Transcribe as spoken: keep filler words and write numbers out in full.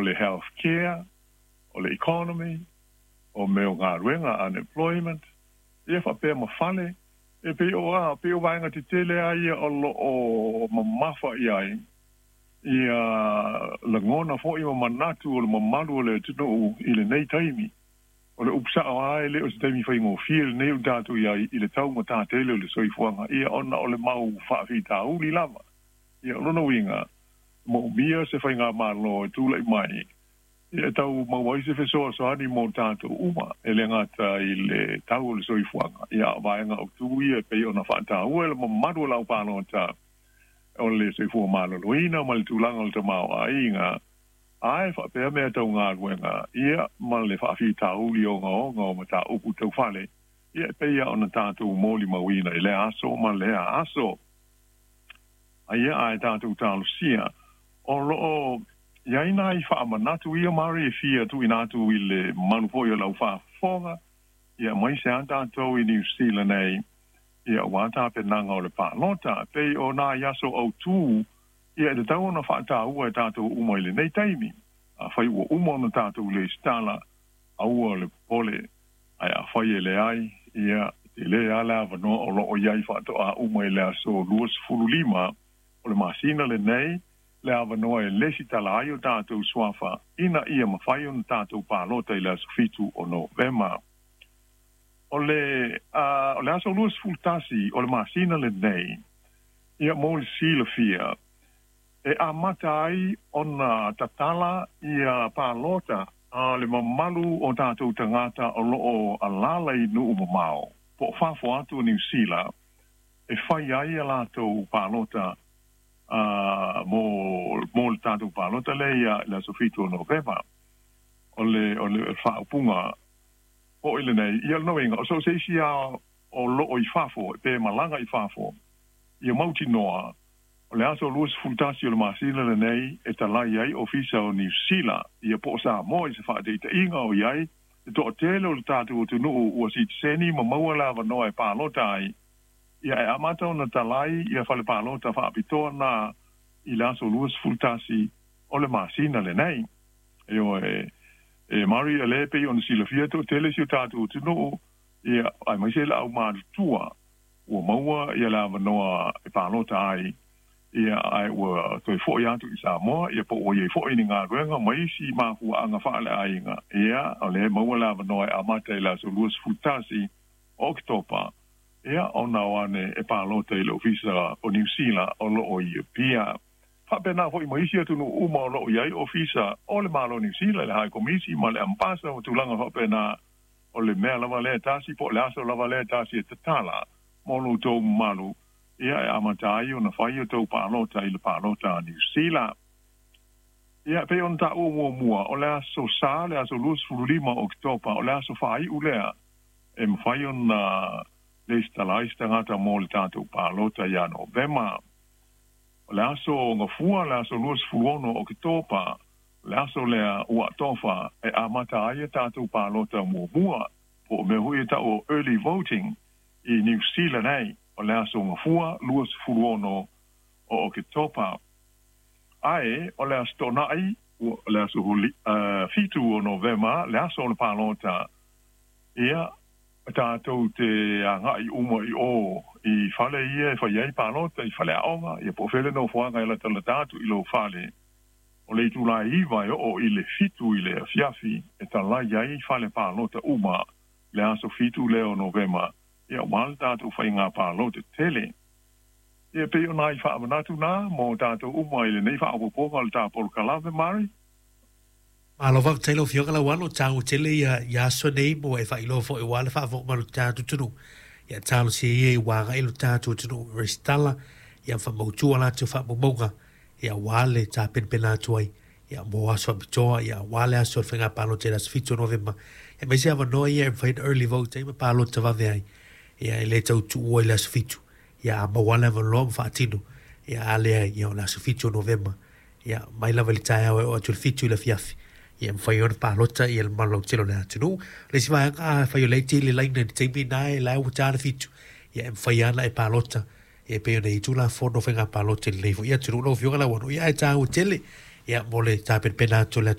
O le health care, o le economy, o mea o galuega, unemployment, ia faapea ma fale. E pei o a pei o vaega tetele a ia o loo mamafa i ai ia lagona fo'i ma manatu o le mamalu o le atunuu i lenei taimi. O le upu sa'o a, e le o se taimi faigofie lenei o tatou i ai i le taugatā tele o le soifuaga, ia ona o le mau faafitauli lava. Ia o lona uiga, moomia se faigamālō e tula'i mai ia tau maua ai se fesoasoani mo tatou uma, e le gata i le tau o le soifuaga, ia a o vaega autū ia e pei ona faataua e le mamalu o le aupalota, o le soifua maloloina ma le tulaga o le tamaoaiga, ae faapea mea tau galuega, ia ma le faafitauli ogaoga o mataupu tau fale, ia e pei ona tatou molimauina i lea aso ma lea aso. Aia ae tatou talosia o loo i ai nai faamanatu ia mari e fia tuuina atu i le mamalu foi o le aufaafofoga, ia aemaise a tatou i Niu Sila nei, ia aua tapenaga o le palota. Pei o nai aso autū ia e tatau ona faataua e tatou uma i lenei taimi. Afai ua uma ona tatou lesitala, aua le popole, ae afai e leai, ia e tele lava le avanoa o loo i ai faatoa uma i le aso luasefulu lima o le masina lenei le avanoa e lesitala ai o tatou suafa ina ia mafai ona tatou palota i le aso fitu o Novema. O le uh, o le aso luasefulu tasi o le masina lenei, ia mo le silafia, e amata ai ona tatala ia palota a le mamalu o tatou tagata o loo alala i nuu mamao po o fafo atu o Niu Sila e fai ai a latou palota uh, mo mo le tatou palota le ia le aso fitu o Novema. O le o le faaupuga o i lenei ia le uiga o so o se isi a o loo i fafo pe malaga i fafo, ia mautinoa o le aso luasefulu tasi o le masina lenei e talai ai ofisa o Niu Sila, ia po o Samoa i se faataitaiga o i ai le toatele o le tatou atunuu ua sitiseni ma maua le avanoa e palota ai, ia e amata ona talai ia fale palota faapitoa na i le aso luasefulu tasi o le masina lenei. Ioe e mari, e le pei ona silafia, toatele si o tatou atunuu, ia aemaise le aumatutua ua maua ia le avanoa e palota ai, ia ae ua toe fo'i atu i Samoa, ia po ua iai fo'i ni galuega ma isi mafuaaga faaleaiga. Ia o le maua le avanoa e amata i le aso luasefulu tasi o Oketopa, ia ona o ane e palota i le ofisa o Niu Sila o loo i Apia. Faapena fo'i ma isi atunuu uma o loo i ai ofisa o le Malo Niu Sila, le High Komisi ma le Ambasa o tulaga faapena. O le mea lava lea tasi po o le aso lava lea tasi e tatala mo lo outou mamalu, ia e amata ai ona fai o tou palota i le palota a Niu Sila. Ia pei ona taua muamua, o le aso Sa, le aso luasefulu lima o Oketopa, o le aso faaiu lea e mafai ona lesitala ai se tagata mo le tatou palota ia Novema. O le aso Gafua, le aso luasefulu ono o Oketopa, le aso lea ua atofa e amata ai a tatou palota muamua, po o mea foi e tau o early voting i Niu Sila nei, o le aso Gafua luasefulu ono o Oketopa. Ae o le aso Toonai, le aso uh, fitu o Novema, le aso o le palota, ia tatou te agai uma i o i fale ia e fai ai palota, i fale aoga, ia po o fea le nofoaga e latalata atu i lou fale. O le itulā iva e oo i le fitu i le afiafi e talai ai fale palota uma le aso fitu lea o Novema, ia aua le tatou faiga palota tele. Ia pei o nai faamanatu na mo tatou uma i lenei faaopoopoga o le tapolokalame, Mari. Malo faafetai lau Afioga Lauano, taua tele ia ia aso nei mo e faailoa fo'i aua le faafofoga mai o le tatou atunuu. Ia talosia ia i uaga i lo tatou atunuu resitala ia faamautua latou faamaumauga ia aua le tapenapena atu ai ia mo aso faapitoa, ia aua le aso o le faiga palota i le aso fitu o Novema. Ia aemaise avanoa ia e mafai ona early vote ai ma palota vave ai. Ia e le tau tuua i le aso fitu. Ia a maua le avanoa ma faatino. Ia a leai, ia o le aso fitu o Novema. Ia mai lava i le taeao e oo atu i le fitu i le afiafi. Ia mafai ona palota ia le mamalu lautele o le atunuu. Le isi vaega, afai o lea e tele laina i le taimi na e la ua ta le fitu. Ia e mafai lava ona e palota. Ia pei ona i ai Tulafono faiga palota i lenei foi atunuu lau Afioga Lauano. Ia ae taua tele. Ia mo le tapenapena atu o le